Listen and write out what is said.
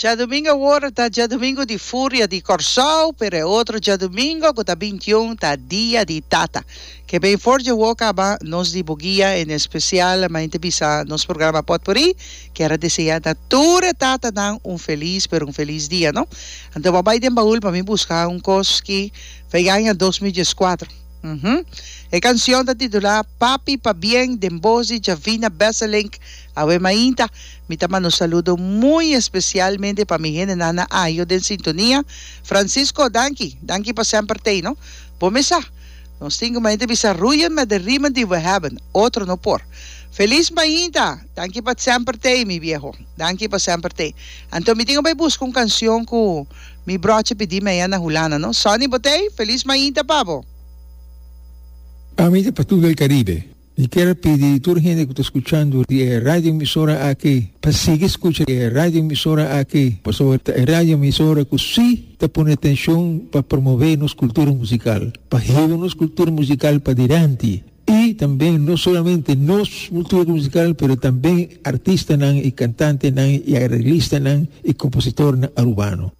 Djadumingu awor ta djadumingu di furia di Kòrsou, pero e otro djadumingu ku ta bintiun ta dia di tata. Ke ben for dje wou kaba nos di Boguia en espesial mainta bisa nos programa Potpourri kier a desea na tur e tatanan un felis pero un felis dia no. Anto bo a bai den baul pa mi buska un kos ki fei aña 2014. Uhum. E kansion ta titulá Papi Pabien den bos di Javina Besselink. Awe mainta Mi ta manda un saludo muy especialmente pa mi hendenan na Ayo den sintonia. Francisco, danki. Danki pa semper tei, no? Bo mes sa, nos tin cu mainta bisa roeien met de riemen die we hebben. Otro no por. Feliz mainta! Danki pa semper tei, mi viejo. Danki pa semper tei. Anto mi tin cu bay busca un cancion cu mi broche pidi mi aya na Hulanda, no? Sonny, bo tei? Feliz mainta pa bo. Ami ta pa tur del Caribe. Mi kier a pidi tur hende ku ta skuchando di e radioemisora aki pa sigui skucha e radioemisora aki, pasobra ta e radioemisora ku sí ta pone atenshon pa promové nos kultura musikal, pa hiba nos kultura musikal padilanti i tambe no solamente nos kultura musikal pero tambe artistanan i kantantenan i areglistanan i kompositornan arubano.